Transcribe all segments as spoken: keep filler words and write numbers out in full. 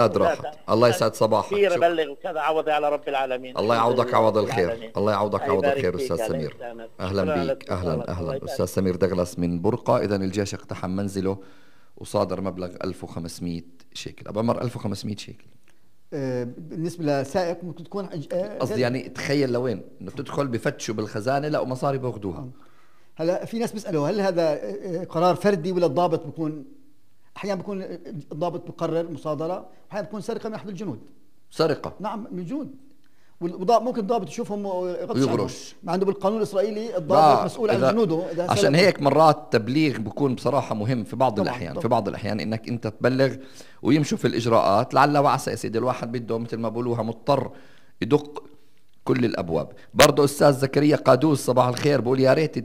قد راحت. الله يسعد صباحك. كثير بلغ وكذا، عوضي على رب العالمين. الله يعوضك عوض الخير. الله يعوضك عوض الخير أستاذ سمير. أهلا بيك. أهلا أهلا أستاذ سمير دغلس من برقة. إذا الجيش اقتحم منزله وصادر مبلغ ألف وخمسمئة شيكل. أبو عمر ألف وخمسمئة شيكل آه بالنسبة لسائق ممكن تكون قصدي آه يعني تخيل لوين إنه تدخل بفتشوا بالخزانة لا ومصاري بأخذوها. آه. هلا في ناس بيسألوا هل هذا قرار فردي ولا الضابط بيكون؟ أحيانا بيكون الضابط بقرر مصادرة، أحيانا بيكون سرقة من أحد الجنود. سرقة؟ نعم من الجنود. والضابط ممكن الضابط يشوفهم ويغرش. ما عنده بالقانون الإسرائيلي الضابط مسؤول عن جنوده. عشان هيك مرات تبليغ بيكون بصراحة مهم في بعض الأحيان. طبعا. في بعض الأحيان إنك أنت تبلغ ويمشوا في الإجراءات لعل وعسى. يا سيدي الواحد بده مثل ما بقولوها مضطر يدق كل الأبواب. برضو أستاذ زكريا قادوس صباح الخير بقول يا ريت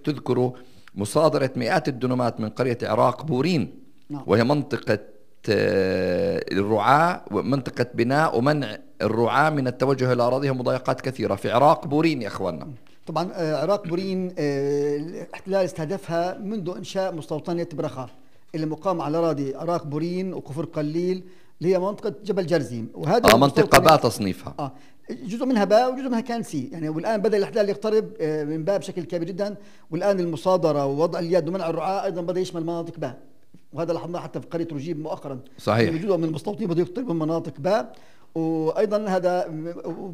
تذكروا مصادرة مئات الدنومات من قرية عراق بورين. نعم. وهي منطقة الرعاة ومنطقة بناء ومنع الرعاة من التوجه إلى أراضيهم مضايقات كثيرة في عراق بورين يا أخواننا. طبعا عراق بورين الاحتلال استهدفها منذ إنشاء مستوطنة برخا اللي مقام على أراضي عراق بورين وكفر قليل اللي هي منطقة جبل جرزيم. وهذا آه منطقة باء تصنيفها. آه جزء منها باء وجزء منها كان سي يعني. والآن بدأ الاحتلال يقترب من باء بشكل كبير جدا. والآن المصادرة ووضع اليد ومنع الرعاة أيضا بدأ يشمل مناطق باء. وهذا لاحظناه حتى في قرية رجيب مؤخرا. صحيح. جزء من المستوطنين بدأوا يقتربوا من مناطق باء. وايضا هذا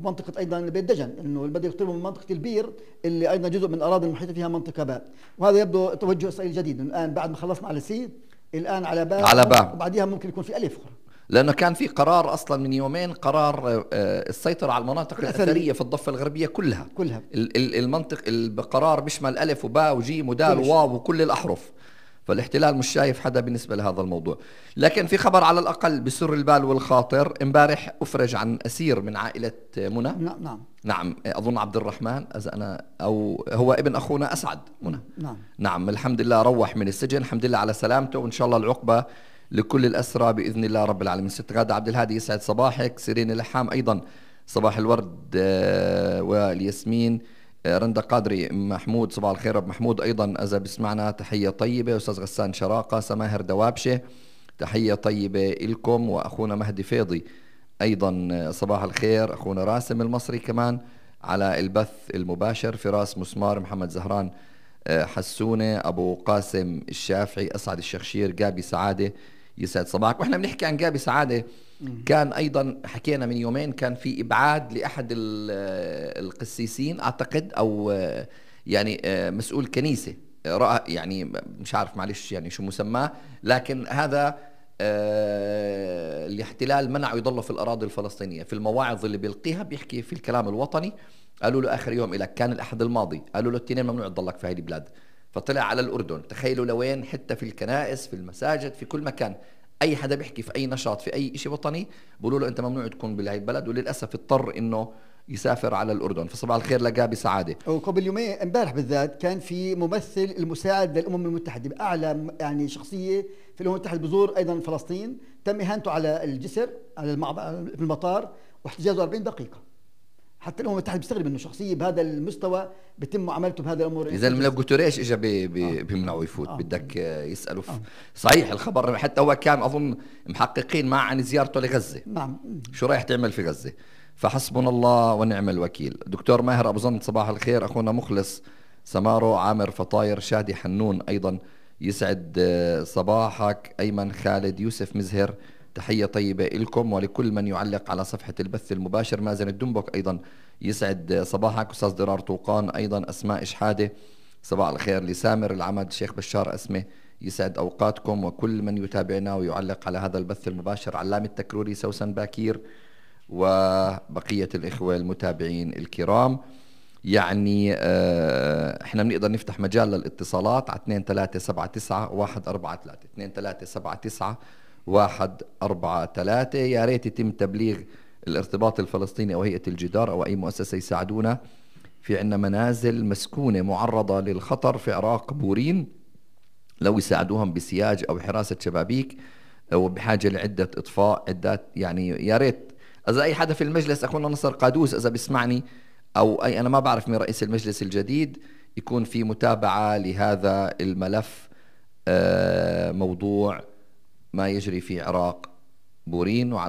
منطقه ايضا بيت دجن انه بده يقتربوا من منطقه البير اللي ايضا جزء من الاراضي المحيطه فيها منطقه باء. وهذا يبدو توجه اسرائيلي جديد الان بعد ما خلصنا على سي الان على باء. على باء وبعديها ممكن يكون في الف اخرى. لانه كان في قرار اصلا من يومين قرار السيطره على المناطق الاثريه في الضفه الغربيه كلها. كلها. المنطق القرار بيشمل الف وباء وجيم ودال وواو وكل الاحرف. فالاحتلال مش شايف حدا بالنسبة لهذا الموضوع. لكن في خبر على الأقل بسر البال والخاطر. امبارح أفرج عن أسير من عائلة منى. نعم نعم نعم أظن عبد الرحمن إذا أنا أو هو ابن أخونا أسعد منى. نعم نعم الحمد لله روح من السجن الحمد لله على سلامته. وإن شاء الله العقبة لكل الأسرى بإذن الله رب العالمين. ست غادة عبد الهادي يسعد صباحك. سيرين اللحام أيضا صباح الورد والياسمين. رندا قادري محمود صباح الخير ابو محمود ايضا اذا بسمعنا تحيه طيبه. استاذ غسان شراقه سماهر دوابشه تحيه طيبه لكم. واخونا مهدي فيضي ايضا صباح الخير. اخونا راسم المصري كمان على البث المباشر. فراس مسمار محمد زهران حسونه ابو قاسم الشافعي اسعد الشخشير جابي سعاده يسعد صباحك. واحنا بنحكي عن جابي سعاده كان ايضا حكينا من يومين كان في ابعاد لاحد القسيسين اعتقد او يعني مسؤول كنيسه راى يعني مش عارف معلش يعني شو مسماه. لكن هذا الاحتلال منعه يضل في الاراضي الفلسطينيه. في المواعظ اللي بيلقيها بيحكي في الكلام الوطني. قالوا له اخر يوم لك كان الاحد الماضي قالوا له التنين ممنوع تضلك في هذه البلاد. فطلع على الاردن. تخيلوا لوين حتى في الكنائس في المساجد في كل مكان اي حدا بيحكي في اي نشاط في اي شيء وطني بيقولوا له انت ممنوع تكون بهي البلد. وللاسف اضطر انه يسافر على الاردن. فصباح الخير لجابي سعاده. وقبل يومين امبارح بالذات كان في ممثل المساعد للامم المتحده باعلى يعني شخصيه في الامم المتحده بزور ايضا فلسطين. تم اهانته على الجسر على في المطار واحتجازه أربعين دقيقه. حتى الامم المتحده بتستغرب انه شخصيه بهذا المستوى بيتم معاملته بهذا الامور. اذا لو جوتيريش اجى بيمنعوا يفوت. آه. بدك يسالوا آه. صحيح الخبر حتى هو كان اظن محققين مع عن زيارته لغزه. نعم شو رايح تعمل في غزه. فحسبنا الله ونعم الوكيل. دكتور ماهر ابو زند صباح الخير. اخونا مخلص سمارو عامر فطاير شادي حنون ايضا يسعد صباحك. ايمن خالد يوسف مزهر تحية طيبة لكم ولكل من يعلق على صفحة البث المباشر. مازن الدنبك أيضا يسعد صباحك. أستاذ ضرار طوقان أيضا. أسماء إشحادة صباح الخير. لسامر العمد شيخ بشار أسمه يسعد أوقاتكم. وكل من يتابعنا ويعلق على هذا البث المباشر. علام التكروري سوسن باكير وبقية الإخوة المتابعين الكرام. يعني اه احنا بنقدر نفتح مجال للاتصالات على اثنين ثلاثة سبعة تسعة واحد أربعة ثلاثة اثنين ثلاثة سبعة تسعة واحد أربعة ثلاثة. يا ريت يتم تبليغ الارتباط الفلسطيني أو هيئة الجدار أو أي مؤسسة يساعدونا. في عنا منازل مسكونة معرضة للخطر في عراق بورين لو يساعدوهم بسياج أو حراسة شبابيك وبحاجة لعدة إطفاء عدات. يعني يا ريت إذا أي حدا في المجلس أخونا نصر قادوس إذا بسمعني أو أي أنا ما بعرف من رئيس المجلس الجديد يكون في متابعة لهذا الملف. موضوع ما يجري في عراق بورين وعلى